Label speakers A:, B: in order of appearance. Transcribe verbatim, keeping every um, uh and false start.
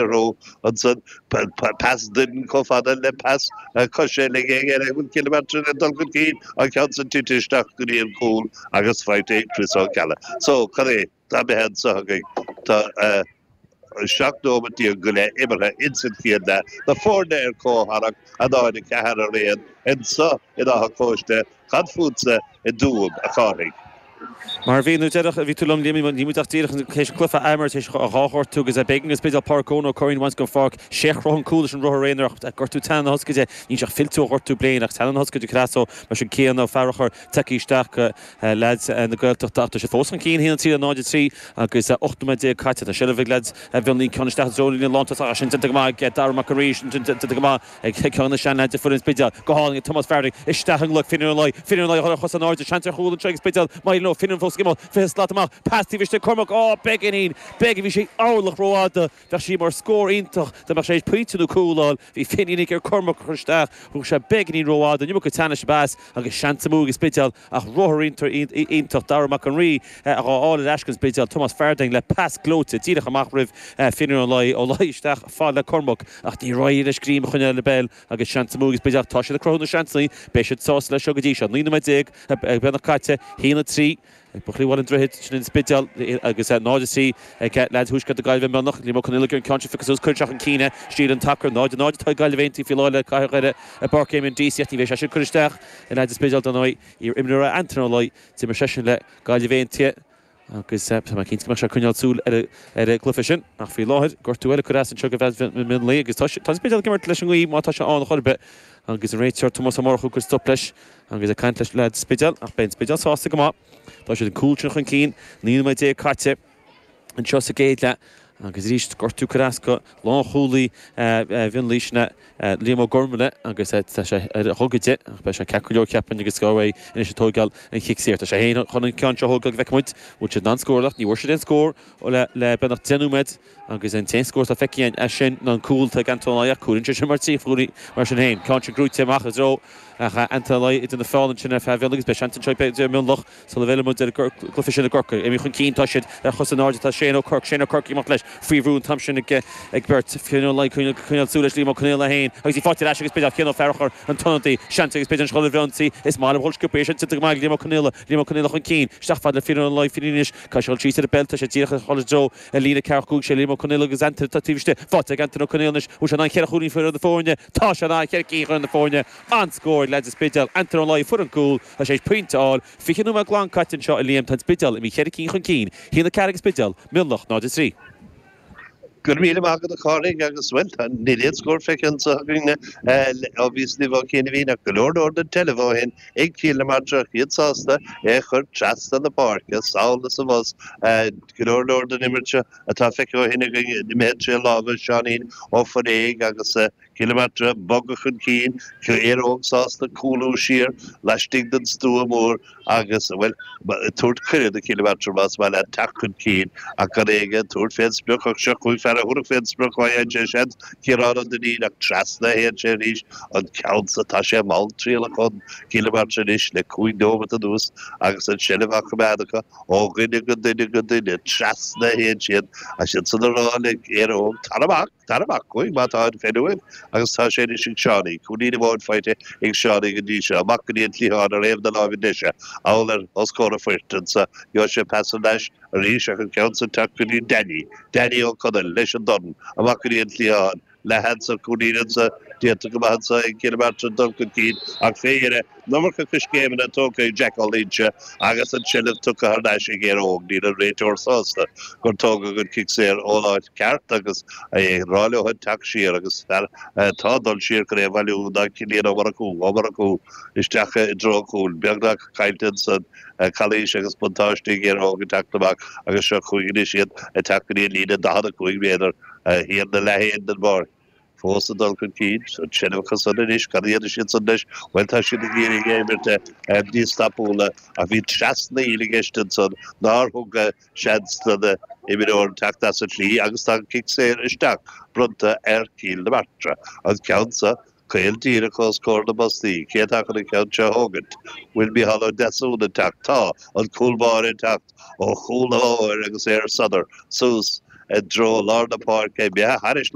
A: orthu ansan pas doimhin chomh fada le pas coise le bhfuil Cill na Martra ag dul chun cinn an ceann san tite isteach go dtí an cúl agus faighte ag Chris Ó Ceallaigh. So cad é tá imithe anseo againn tá seacht nóiméad déag go leith imeartha insan chéad leath. Na foirne ar comhtharrac a náid a ceathair araon anseo in Áth an Chóiste cad fútsa i dTuaim a Chárthaigh.
B: Mar bhí nó deireadh bhí tú liom ní muid ach díreach théis cluiche a imirt théis dhá ghortú agus b'éigean don Spidéal Pádraic Eoin Ó Curraoin a bhaint den pháirc sé a chroch an cúl leis an rothar aonair ach gortú teannán na hioscaide níl sé ach fillte ó ghortú bliain ach teannán na hioscaide creasa mar sin céanna Ó Fearchair tagtha isteach leaids na Gaeltachta ach tá sé fós chun cinn a haon a trí le náid a trí agus ocht nóiméad déag caite tá seilbh ag leaids Mhionlaigh ceann isteach i dtreo líne lántosach sin déanta go maith ag Dara Mac an Rí sin déanta go maith ag ceann na seanleaids de foireann Spidéal go hálainn ag Tomás Farrelly isteach i nglaic Finian Ó Laoi Finian Ó Laoi a chos in airde seans ar chúl anseo ag Spidéal maith leo Finian fós ag imeacht fiche slat amach pas taobh istigh Cormac á beagáinín beag bhí sé orlach rófhada bheadh sí mar scór iontach dá mbeadh sé pointe nó cúl a fháil bhí Finian ag iarraidh Cormac a chur isteach thug sé beagáinín rófhada an iomarca teannais a bheas agus seans amú ag Spidéal ach rothar iontach Dara Mac an Rí a fháil ar ais don Spidéal Tomás Farthing le pas gleoite díreach amach roimh Finian Ó Laoi Ó Laoi isteach fad le Cormac ach ní raibh leis greim a choinneáil ar an bpeil agus seans amú ag Spidéal tá siad ag cruthú na seansanna beidh siad sásta leis seo go dtí seo naoi nóiméad déag beagnach caite haon a trí ag Buachaillí Bhaile an Droichid sin an Spidéal agus náid a trí ag leaids Thuaisceart na Gaillimhe Mionlach Liam Ó Conaola an ceann seo phiocadh suas cuir isteach chun cinn é Stíl an tacar náid a náid atá ag Gaillimh Aontaithe faoi láthair le Cathair Dhoire i bPáirc Éamonn Deacy ach ní bheidh sé sin cur isteach i leaids an Spidéal don ndóigh iar-imreoir Anton Ó Laoi d'imir seisean le Gaillimh Aontaithe agus tá mé cinnte go mbeidh sé ag coinneáil súil ar ar an gcluiche sin ach faoi láthair gortú eile cur as anseo go Mionlaigh agus tá tá an Spidéal ag imirt leis an ngaoth má tá sé ann chor ar bith agus an réiteoir Tomás Ó Murchú ag cur stop leis agus ag caint leis leaids Spidéal ach beidh an Spidéal sásta go maith tá siad an cúl sin chun cinn naoi nóiméad déag caite anseo sa gcéad leath agus arís gortú cur as go lánchúlaí Mhionlaigh sin Liam Ó Gormaile agus tá sé ar a ghogaide ach beidh sé ceart go leor ceapaim agus go é anois ag tógáil an chic saor. Tá sé féin chun an ceann seo a thógáil go bhfeicfidh muid bhfuil siad in ann scóráil ach ní bhfuair siad aon scór le le beagnach deich nóiméad agus an t-aon scór atá feicthe as sin ná an cúl atá ag Anton Ó Laoi ach cúlann sé sin mar trí chúlaí mar sin féin. Ceann sin gnóite amach i dtreo ach Anton Ó Laoi idir na fáil ansin ar feadh Mhionlaigh agus beidh seans anseo ag Mionlach sula bhfeileann muid ar an gcluiche sin i gCorcaigh. Imithe chun cinn tá siad ar chos in airde tá Shane Ó Corc Shane Ó Corc ag imeacht leis faoi bhrú an t-am sin ag ag beirt Fionn Ó Laoi coinneáil súil leis Liam Ó Conaola féin agus í faighte ar ais agus b'fhéidir Cian Ó Fearchair an t-ionadaí seans agus b'fhéidir an scoil bhreonsaí is maith le dhul sciobtha sin go maith Liam Ó Conaola Liam Ó Conaola chun cinn isteach fad le Fionn Ó Laoi Fionn anois caithfidh sé síos ar an bpeil tá sé díreach ag dul i dtreo an líne ceathracha cúig sé Liam Ó Conaola agus Anton atá taobh istigh faighte ag Anton Ó Conaola anois bhfuil sé in ann ceithre chúilín fuair na foirne tá sé in ann ceithre cinn chun na foirne an-scór leaids an Spidéal Anton Ó Laoi fuair an cúl tá sé pointe a fháil fiche nóiméad glan caite anseo a Liam tá an Spidéal imithe ceithre cinn chun cinn haon a ceathair ag an Spidéal Mionlach náid a trí.
A: Go raibh míle maith agat a Chárthaigh agus well níl aon scór feicthe anseo againn ó bhíos libh ó chian a ach go leor leor den tseilbh ó shin ag Cill na Martra iad sásta é chur trasna na páirce sall is abhus go leor leor den imirt seo atá feicthe ó shin againn imithe trí lámha Seáinín Ó Foréig agus Cill na Martra bogadh chun cinn Éire Óg sásta cúlú siar laistigh den stua mór agus well tabhairt cuireadh do Chill na Martra más maith leat teacht chun cinn ach gan éige tabhairt fén sprioc ach seo chuaigh fear a thabharfadh fén sprioc ó sé seans Ciarán Ó Duinnín ach trasna a théann sé arís an ceann sa tá sé malltriallach chun Cill na Martra anois le cúig nóiméad anuas agus an seilbh á coimeád acu ó dhuine go duine go duine trasna a théann siad a siad san ará le Éire Óg tar amach tar amach chuig má tá an fenuimh agus tá sé anois ag Seánie cúilín amháin faighte ag Seánie go dtí seo amach go dtí an cliathán ar thaobh na láimhe deise amhail ar os comhair a phoirt anso gheobhaidh sé pas ar ais arís ach an ceann san teacht go dtí Danny Danny Ó Conaill leis an dorn amach go dtí an cliathán le hansa cúilín anso déanta go maith anso ag Cill na Martra dul chun cinn ach fé dheireadh an iomarca coiscéimeanna tógtha ag Jack Ó Loinsigh agus an tseilbh tugtha thar n-ais ag Éire Óg níl an réiteoir sásta gur tógadh an cic saor ón áit ceart agus é rá leo teacht siar agus fear tá dul siar chun é a bhailiú ná Cillian Ó Murchú Ó Murchú isteach i dtreo cúil beagnach caillte ansan calaois agus buntáiste ag Éire Óg ag teacht amach agus seo chuaigh anois iad ag teacht go dtí an líne daichead a cúig méadar thiar na leathéin den bpáirc. Fós ag dul chun cinn an seilbh acu san anois cad a dhéanfaidh siad san leis bhuel tá siad ag iarraidh é imirt níos tapúla ach bhí trasnaíl i gceist ansan nár thug seans don imreoir teacht as an tslí agus tá an cic saor isteach bronnta ar Chill na Martra. An ceann seo caol díreach os comhair na mbostaí cé atá chun an ceann seo a thógaint. Bhfuil Micheál Ó Deasún ag teacht tá an cúl báire ag teacht ó chúl an bhóthair agus é ar sodar suas i dtreo lár na páirce imithe thairis.